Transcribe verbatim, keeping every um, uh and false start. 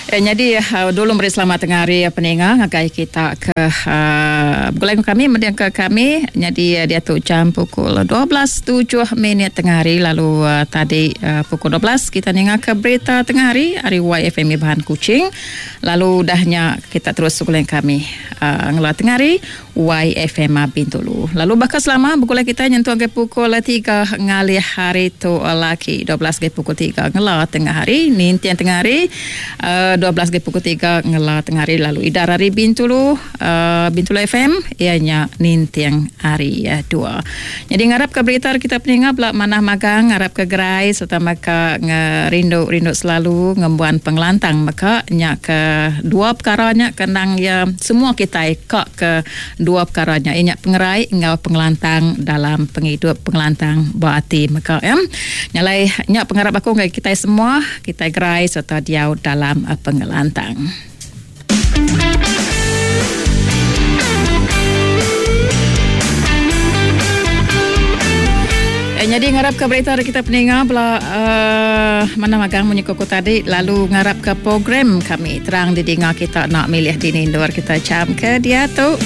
Eh, jadi uh, dulu beri selamat tengah hari peninga ngagai kita ke uh, begulai kami mending ke kami jadi uh, dia tu jam pukul dua belas tujuh minit tengah hari lalu uh, tadi uh, pukul dua belas kita ninga ke berita tengah hari hari Y F M Bahan Kuching lalu dahnya kita terus begulai kami uh, ngela tengah hari Y F M Bintulu lalu bakal selama begulai kita nyentuh ke pukul tiga ngalih hari tu lagi dua belas ke pukul tiga ngela tengah hari nintian tengah hari uh, dua belas ke pukul tiga ngela tengah hari lalu idar hari Bintulu uh, Bintulu F M ianya nintiang hari uh, dua. Jadi ngarap ke berita kita peninga belak manah magang ngarap ke gerai serta maka ngerindu-rindu selalu ngembuan pengelantang maka nya ke dua perkara nya kenang ya semua kita kak ke dua perkara nya inya pengerai enggau pengelantang dalam penghidup pengelantang berarti maka ya. Nyalai nya pengarap aku ngai kita semua kita gerai serta diau dalam pengelantang. Eh, jadi ngarap ke berita kita peninga bela uh, mana magang munyi koko tadi lalu ngarap ke program kami terang didinga kita nak milih di luar kita jam ke dia tu.